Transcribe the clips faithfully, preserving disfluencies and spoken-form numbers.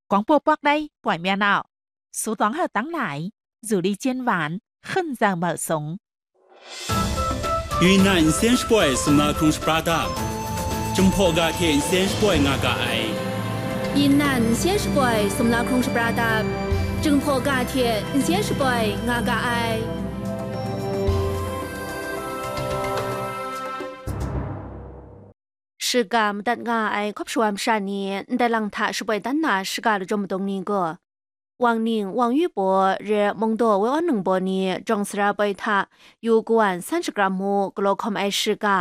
广播 Pakrai ပွင့်မြတ်အောင် စူးသွမ်းဟောက်တန်းလာ ဇူလီကျင်းဝိုင်း ခွန်ဇော်မုတ်စုံ။ ယူနန် အင်စင်းရှပွိုင် စမလာခုံရှပရာဒပ် Jinghpaw ga hte n sen shapoi nga ga ai. ယူနန် အင်စင်းရှပွိုင် စမလာခုံရှပရာဒပ် Jinghpaw ga hte n sen shapoi nga ga ai. Shiga madat nga ai hkawp shawa masha ni ndai lang hta shapoi dan na shiga lajawng madung ni gaw, Wang Ning, Wang Yu Baw, re Mungdaw Woi Awn Nung Baw ni jawng sara poi hta yu kawan san shakram mu galaw hkawm ai shiga,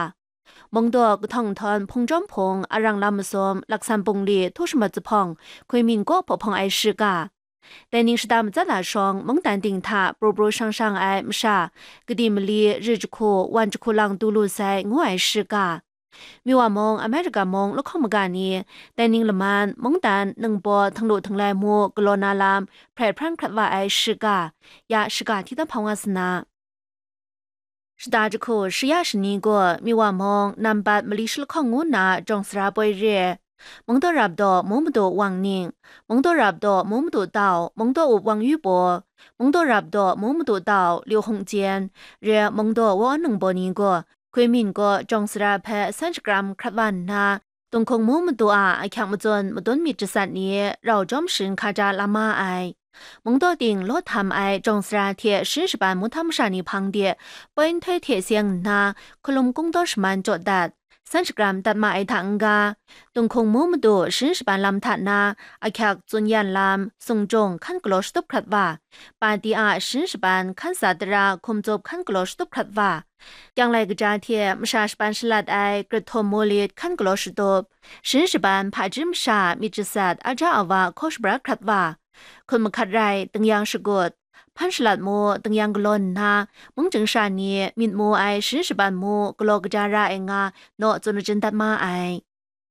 Mungdaw kahtawng nhtawm hpung jawm hpung arang lam masum laksan bungli htu shamat zuphpawng hkwi min kaw hpaw hpawng ai shiga, dai ning shada matsat la shawng mungdan ting hta pru pru shang shang ai masha, kadi mali, ri jahku, wan jahku lang du lu sai ngu ai shiga, Miwa mung, America mung lahkawng maga ni, dai ning laman, mungdan, ningbaw, htinglu htinglai mu, galaw na lam, hprai hpran hkrat wa ai shiga, ya shiga hti dan hpang wa sa na. Shada jahku, shaya shani gaw, Miwa mung, nambat mali shalahkawng ngu nna, jawng sara poi re, Mungdaw Rap Daw, Mung Madu Wang Ning, Mungdaw Rap Daw, Mung Madu Dau, Mungdaw Up Wang Yu Baw, Mungdaw Rap Daw, Mung Madu Dau, Liu Hung Jien, re Mungdaw Woi Awn Nung Baw ni gaw, Hkwi min gaw jawng sara hpe san shakram hkrat wa nna, Tunghkung Mung Madu a ahkyak matsun madun myit jasat ni rau jawm sharin hkaja la ma ai. Mungdaw ting law htam ai jawng sara hte sharin shaban mung htam masha ni hpang de, poi nhtoi hte seng nna, hkalum kungdaw shaman jaw dat, san shakram dat ma ai hta n-ga, Tunghkung Mung Madu sharin shaban lam hta na, ahkyak tsun yan lam, sung jung hkan galaw shatup hkrat wa, pati a sharin shaban hkan sa tara hkum tsup hkan galaw shatup hkrat wa, Kyanglai kaja hte masha shaban shalat ai Krathum Molit hkan galaw shatup, sharin shaban hpaji masha myit jasat aja awa hkaw shabra hkrat wa, hkut mahkat rai, tingyan shagut, hpan shalat mu, tingyan galaw nna, mungchying sha ni myit mu ai sharin shaban mu galaw kaja ra ai nga, naw tsun majin dat ma ai.